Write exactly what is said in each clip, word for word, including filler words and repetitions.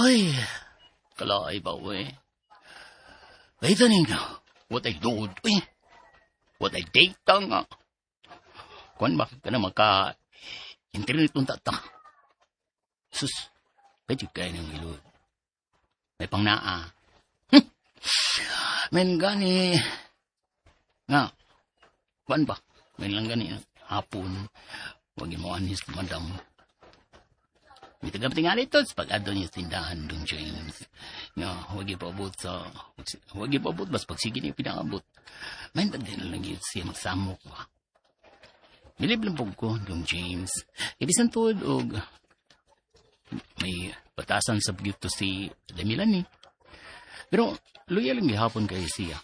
Ay, kalaay ba, we? Wait ninyo. What I do, eh. What I data nga. Kuan ba, ka na maka internet unta ta. Sus, pwede kayo ng ilod. May pang naa. Hmm. Men gani, nga, kuan ba? Men lang gani, hapon, wag mo anis, madam. Mitagam tingali ito sa pag-adto niya sa tindahan dong James. Nga, huwag ipaabot sa, huwag ipaabot, bas pagsige niya pinaabot. May tagdi na lang yun siya magsamok ba. Bilib lang po ko, dong James. Ibisan tuod og may batasan sa to si Demilan ni. Pero loyal lang gihapon kay siya.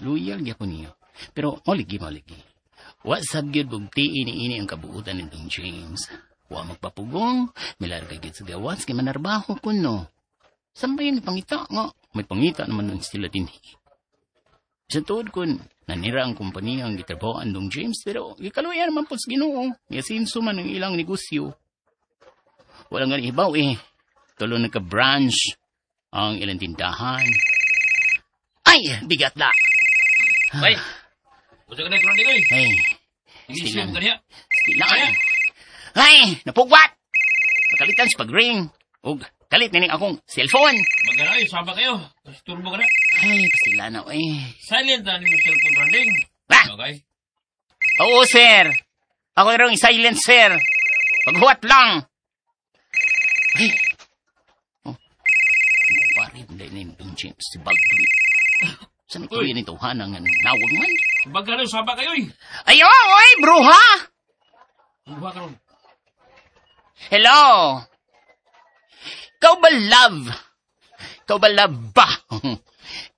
Loyal gihapon niya. Pero maligi maligi. Wa sab gyud bugti ini ini ang kabuutan ni Dong James. Wa magpapugong, milarga gyud sa gawas kay manarbaho kuno. Sambay ni pangita nga, may pangita naman nun sila dinhi. Sa tuod kun nanira ang kompanya ang gitrabahoan Dong James pero gikaluya naman po sa Ginoo. Miasinso man ang ilang negosyo. Walang nga ibaw eh. Tulo nagka-branch ang ilang tindahan. Ay, bigat la. Bay, gusto ka na ikaw oy. Ay, Igisip ka niya. Stila. Ay, napugwat! Nakalitan sa pag-ring. Ug kalit nining akong cellphone. Magana ay, saba kayo. Kasi turbo ka na. Ay, pastila na eh. Silent na nimo cellphone running. Ba? Okay. Oo, sir. Ako rin silent, sir. Paghuwat lang. Ay. Oh. Pare, hindi na yung James si Baldwin. Saan ito Uy. yun ito, hanang nawag man? Bagano, saba kayo eh. Ay, oh, oy, bruha! Buha ka ron. Hello? Ikaw ba love? Ikaw ba love ba?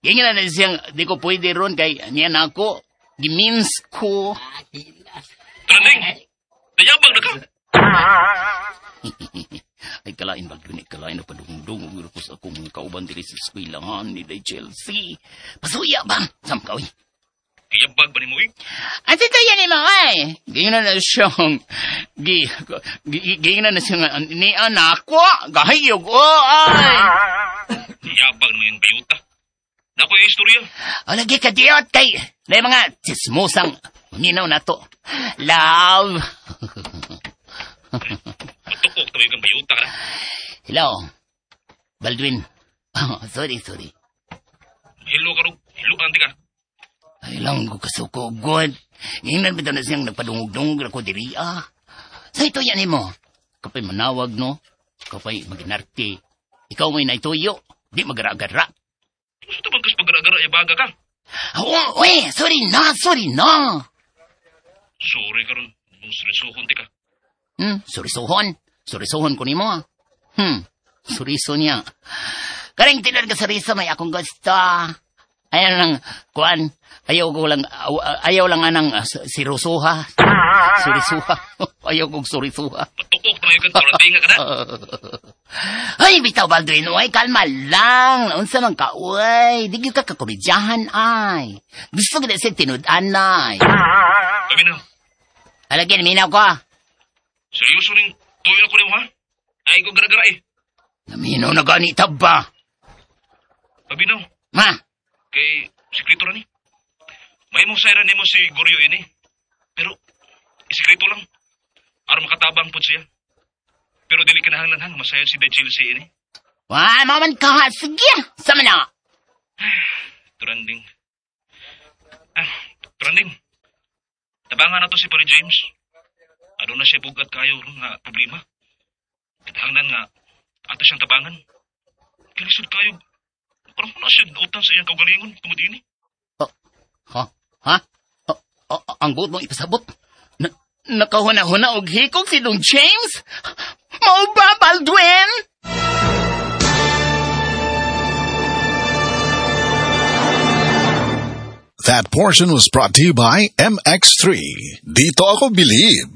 Ganyan na siyang di ko pwede ron kay niya na ako. Gimins ko. Trending! Dayabag na ka! Ay, kalain ba dun? Kalain na padungdung. Ko sa akong kauban diri sa eskwelahan ni Day Chelsea. Pasuya ba? Sam ka, uy. Kayabag ba ni mo eh? Ang sito yan mo, ay. Ganyan na siyang, gi, gi, ganyan na siyang, ni anak ko, gahiyog, oh, ay. Yabag naman yung bayuta. Nako yung istorya. O, lagi ka diyot kay, na mga tsismosang, minaw na to. Love. Matukok tayo kang bayuta ka na. Hello. Baldwin. Oh, sorry, sorry. Hello ka ron. Hello ka ka. Ay lang ko kasuko, God. Ngayon bitaw na siyang nagpadungog-dungog ako diri, ah. Sa ito yan mo. Kapay manawag, no? Kapay maginarte. Ikaw may naituyo. Di magara-gara. Gusto bang kas pagara-gara yabaga ka? Oh, uy, sorry na, sorry na. Sorry ka ron. Mong seryosohon ti ka. Hmm, surisuhon. Surisuhon ko nimo, ah. Hmm, suriso niya. Karing tinan ka suriso, may akong gusto. Ayaw lang, kuan, ayaw ko lang, ayaw lang anang uh, sirusuha. Surisuha. Ayaw kong surisuha. Patukok tayo kang turatinga ka na. Ay, bitaw Baldwin, uy, kalma lang. Unsa man ka, uy. Di gyud ka kakomedyahan, ay. Gusto gid sa tinud-an, ay. Paminaw. Alagin, minaw ko. Seryoso ning tuyo na ko nimo ha? Ay ko gara-gara eh. Naminaw na ganita ba? Paminaw. Ma, Kay sekreto ra ni. May mong sayran nimo si Goryo ini. Pero isekreto lang. Aron makatabang pud siya. Pero dili kinahanglan ha nga masayod si Day Chelsea ini. wa, maman ka, sige. Sama na. Turanding. Ah, Turanding. Tabangan na to si Pare James. Aduna siya bugat kayo ron nga problema. Kinahanglan nga ato siyang tabangan. Kalisod kayo. Parang na siya utang sa iyang kaugalingon tungod ini. Ha? Ha? O, o, ang buot mong ipasabot? Na, nakahuna-huna og hikog si Dong James? Mao ba, Baldwin? That portion was brought to you by M X three. Dito ako believe.